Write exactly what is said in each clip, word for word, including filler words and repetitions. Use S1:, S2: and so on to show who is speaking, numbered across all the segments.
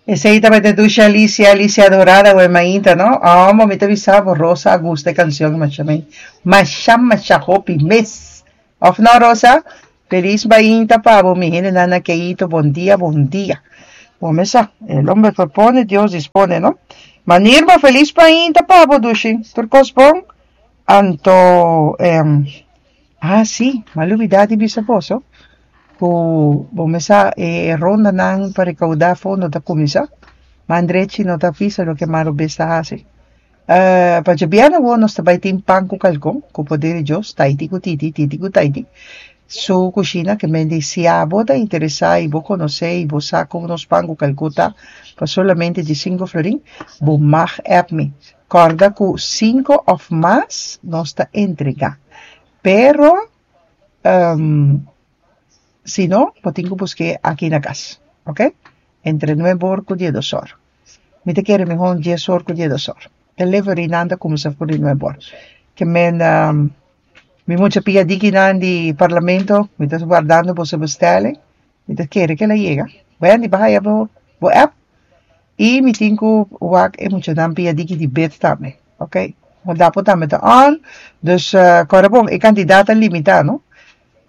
S1: Esey tabata dushi Alicia, Alicia Dorada we mainta, no? Oh, mi ta bisa bo, Rosa a gusta e cancion masha men. Masha, masha hopi mes. Of no, Rosa? Feliz mainta pa bo, mi hende nana Keito, bon dia, bon dia. Bon mesa, el hombre propone, Dios dispone, no? Manirma, feliz mainta pa bo, dushi. Tur cos bon? Anto, em, ah, sí, m'a lubida di bisa boso ku bo mesa e rondanan pa recaudar fondo ta cuminsa. Mandrechi no ta visa loke Maro bes ta hasi. Uh, pa djabièrnè awor nos ta bai tin pan ku kalkon, ku poder di Dios, Taiti ku Titi, Titi ku Taiti. Su kushina ke men di si abo ta interesá i bo konosé i bo sa kon nos pan ku kalkon ta pa solamente di sinku florin, bo mag app mi. Kòrda ku sinku òf mas nos ta entregá. Pero, um, si no, bo tin ku busk'é aki na kas, ok? Entre nuebe or ku diesdos or. Mi ta kere mihó dies or ku diesdos or. Delivery nan ta kuminsá for di nuebe or. Ke men um, mi mucha pia dikinan di parlamento, mi ta wardando boso bestelling. Mi ta kere ku el a yega. Wendy, bo a haya bo, bo app. I mi tin ku wak e muchanan pia diki di bed tambe. Ok? Dapo tambe ta on. Dus uh, kòrda bon, e kantidat ta limitá, no?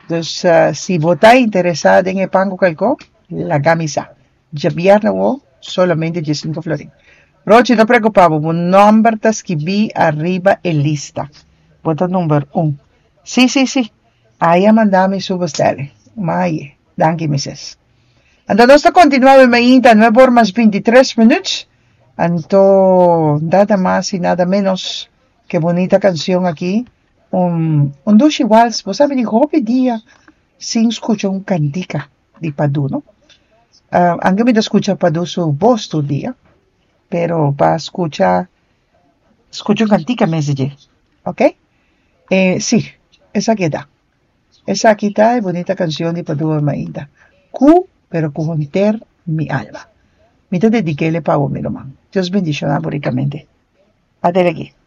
S1: Dus uh, si bo ta interesá den e pan ku kalkon, laga mi sa. Djabièrnè awor, solamente diesinku florin. Rochi, no preokupá, bo nòmber ta skibí ariba e lista. Bo ta number un. Sí, sí, sí. Aya manda mi su bestelling. Mai, danki, missus. Anto nos ta kontinuá mainta, nuebe or mas bintitres minüt. Anto, nada mas i nada menos ku bunita kansion aki. Un, un dushi wals. Bo sabi di hopi dia sin skucha un kantika di Padu, no? Uh, anke mi ta skucha Padu su bos tur dia, pero pa skucha skucha un kantika mes di dje, ok? Eh, sí, esaki ta. Esaki ta e bunita kansion di Padu mainta. Ku, pero ku henter mi alma. Mi ta dedik'é pa bo, mi ruman. Dios bendishoná bo rikamente. Adelante.